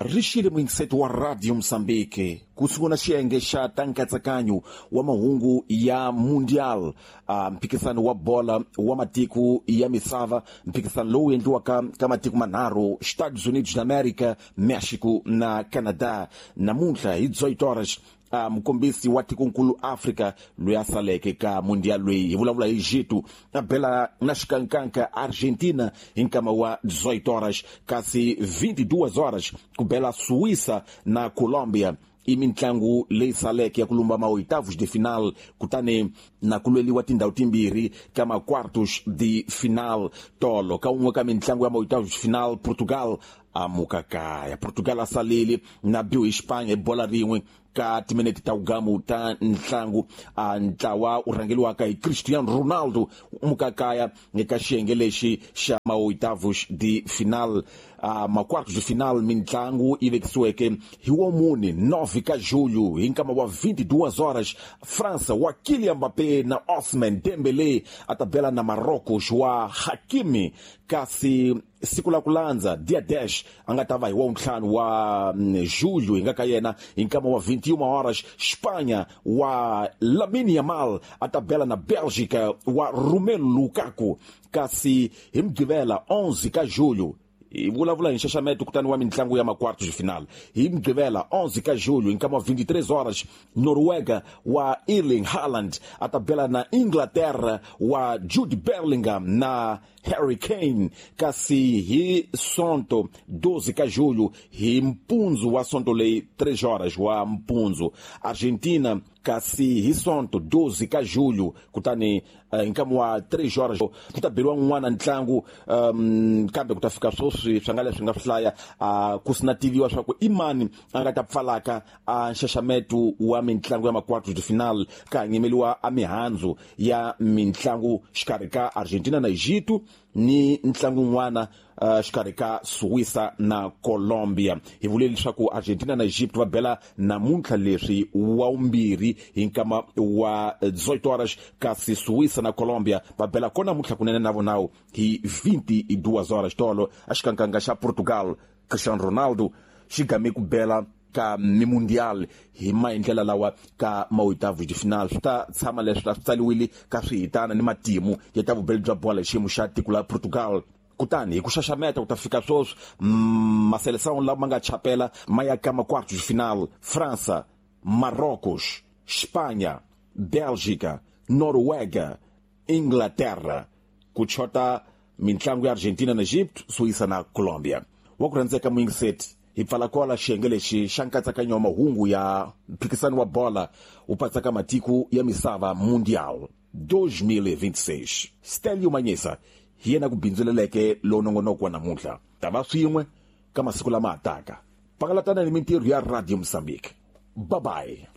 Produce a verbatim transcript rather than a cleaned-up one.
Ri xile muyingiseti wa Radio Mozambique ku sungula xiyenge xa ta nkatsakanyo wa mahungu ya Mundial, uh, mphikisano wa bola wa matiko ya misava, mphikisano lowu endliwaka ka matiko manharhu, Estados Unidos da América, México na Canadá. Namuntlha hi dezoito horas, uh, mukombisi wa tikonkulu Afrika loyi a saleke ka Mundial loyi hi vulavula hi Egito a bela na xikankanka Argentina hi nkama wa dezoito horas, kasi vinte e duas horas ku bela Suíça na Colombia. I mintlangu leyi saleke ya ku lumba ma-oitavos de final, kutani na ku lweliwa tindhawu timbirhi ka ma-quartos de final. Tolo ka un'we ka mintlangu ya ma-oitavos de final, Portugal a muka kaya. Portugal a salele na biwa hi Espanha hi bola rin'we ka timinete ta wugamu ta ntlangu. A ntlawa wu rhangeliwaka hi Cristiano Ronaldo muka kaya eka xiyenge lexi xa ma-oitavos de final. Uh, ma-quartos de final mintlangu yi vekisiweke hi wa mune nove ka julho hi nkama wa vinte e duas horas, França wa Kylian Mbappé na Ousmane Dembélé a ta bela na Marrocos wa Hakimi, kasi siku la ku landza dia dez a nga ta va hi wa ntlhanu wa julho hi nga ka yena hi nkama wa vinte e uma horas, Espanha wa Lamine Yamal a ta bela na Bélgica wa Romelu Lukaku, kasi hi Mugqivela onze ka julho hi vulavula hi nxaxameto kutani wa mintlangu ya ma-quartos de final. Hi Mugqivela onze ka julho hi nkama wa vinte e três horas, Noruega wa Erling Haaland a ta bela na Inglaterra wa Jude Bellingham na Harry Kane, kasi hi Sonto doze ka julho hi mpundzu wa Sonto leyi três horas wa mpundzu, Argentina, kasi hi Sonto doze ka julho kutani uh, hi nkama wa três horas ku ta beriwa n'wana ntlangu, um, kambe ku ta fika sweswi swi nga leswi nga swi hlaya, uh, ku sina tiviwa swa ku i mani a nga ta pfalaka a nxaxameto wa mintlangu ya ma-quartos de final, ka nyimeliwa a mihandzu ya mintlangu xikarhi ka Argentina na Egito ni ntlangu wun'wana uh, xikarhi ka Suíça na Colombia. Hi vule leswaku Argentina na Egypt va bela namuntlha leswi wa vumbirhi hi nkama wa dezoito horas, kasi Suíça na Colombia va bela kona namuntlha kunene na vonawu hi vinte e duas horas. Tolo a xikankanga xa Portugal, Cristiano Ronaldo xi game ku bela ka mi-mundial hi maendlela lawa ka ma-oitavos de final. Swi ta tshama leswi a swi tsaliwile ka swihitana ni matimu ya ta vubeli bya bola hi xiyimo xa tiko la Portugal. Kutani hi ku xaxameta ku ta fika sweswi maseleção lama nga chapela ma ya ka ma-quartos de final: França, Marrocos, Espanha, Bélgica, Noruega, Inglaterra. Ku chota mintlangu ya Argentina na Egito, Suíça na Colombia. Wa ku rhandzeka muyingiseti, hi pfala kwala xiyenge lexi xa nkatsakanyo wa mahungu ya mphikisano wa bola wu patsaka matiko ya misava Mundial dois mil e vinte e seis. Stelio Manyesa hi yena ku bindzuleleke lowu nongonoko wa namuntlha. Ta va swin'we ka masiku lama hataka. Pangalatana ni mintirho ya Radio Mozambique. Bye bye.